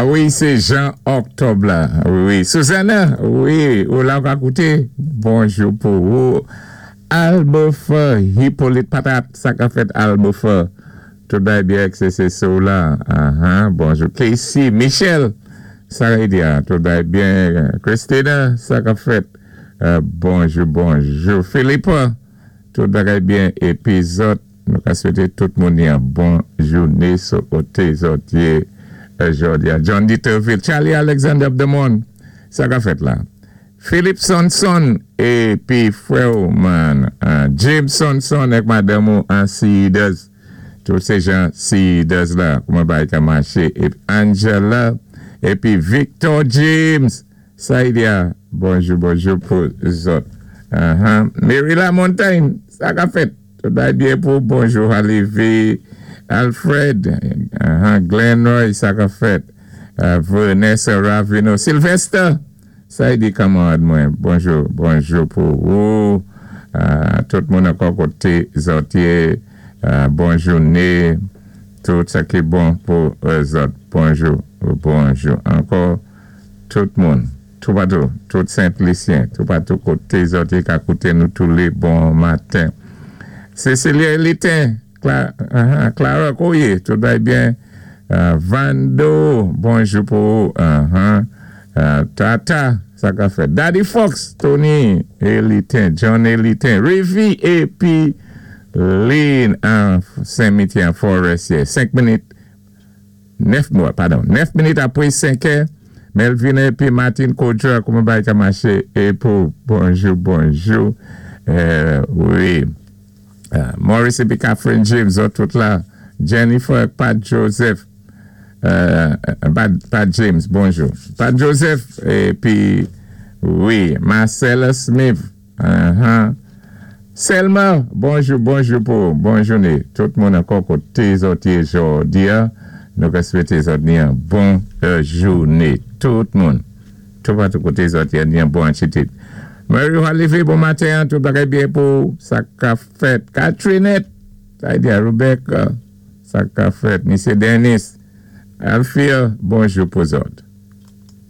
A wi, sé Jean Octobre la. Wi, Susanna, wi, ou la ou ka kouté. Bonjou pou ou. Albofa Hippolyte Patat, sa ka fèt Albofa? Tout bagay byen se se ou la. Bonjou Casey, Michel, sa ka di a, tout bagay byen. Christina, sa ka fèt? Bonjou, bonjou. Philippe, tout bagay byen. Épi zòt, nou ka swété tout moun yon bon jouné sou koté zòt yé jòdi a. John Dieterville, Charlie Alexander Abdemon, sa ka fèt la? Philippe Sonson épi frè ou man James Sonson ak madanm ou an Cedars. Tout sé jan Cedars la, kouman bagay ka maché. Épi Angela, épi Victor James, sa y di a, bonjou, bonjou pou zòt. Mary Lamontagne, sa ka fèt? Tout bagay byen pou bonjou Halivi, Alfred, Glenn Roy, sa ka fèt? Vanessa Ravino, Sylvester, sa y di kanmarad mwen, bonjou, bonjou pou ou, tout moun ankò koté zòt yé, bon jouné, tout sa ki bon pou zòt, bonjou, bonjou ankò, tout moun, toupatou, tout Sent Lisyen, toupatou koté zòt yé ka kouté nou toulé bon maten. Cecilia Elitin, Clara kou yé, tout bagay byen? Vando, bonjou pou ou, Tata, sa ka fèt? Daddy Fox, Tony Elitin, John Elitin, Rivi épi Lynn an Sen-Mitye an Forestier, 5 minit 9 mwa, padon, 9 minit apwé 5 è, Melvina épi Martin Kodjo kouman bagay ka maché é pou bonjou, bonjou, wi. Maurice épi Catherine James, zòt tout la, Jennifer Pat Joseph, Pat James, bonjou. Pat Joseph épi wi, Marcella Smith, Selma, bonjou, bonjou pou bon jouné. Tout moun ankò koté zòt yé jòdi a, nou ka swété zòt ni yon bon jouné. Tout moun, toupatou koté zòt yé ni yon bon atitid. Mary Halivé, bon maten, tout bagay byen pou ou, sa ka fèt? Catrinette, sa y di a Rebecca, sa ka fèt? Misye Dennis, Alfia, bonjou pou zòt.